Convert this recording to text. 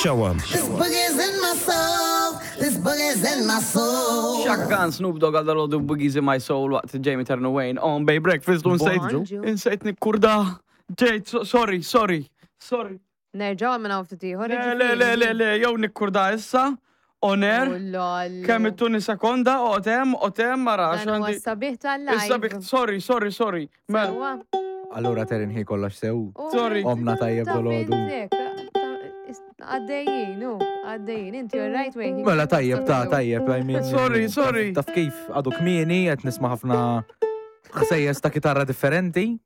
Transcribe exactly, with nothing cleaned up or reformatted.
Show 'em. This boogie's in my soul. This boogie's in my soul. Chaka Khan, Snoop Dogg għal dal Boogies in My Soul waqt Jamie Turner Wayne on Bay Breakfast u nsejt. Bonġu. Insejt nikkurda. Ġejt, so- sorry, sorry, sorry. Nerġaw minn hawn ftit ieħor. Le, le, le, le, le, jew nikkurda issa, on air, kemm ittuni sekonda, otem, otem, mara, Dan huwa għandi. sabiħ tal-live. Issa bik, sorry, sorry, sorry. Mela, Sewwa. Allura Terin hi kollox sew. U Sorry. Omna tajjeb ta' dolodu. fintek, ta' is- Għaddejjin, u, għaddejjin, inti you're right way. Mela tajjeb ta' tajjeb, I mean. Sorry, sorry. Taf kif għadu kmieni, qed nisma' ħafna ħsejjes ta' kitarra differenti.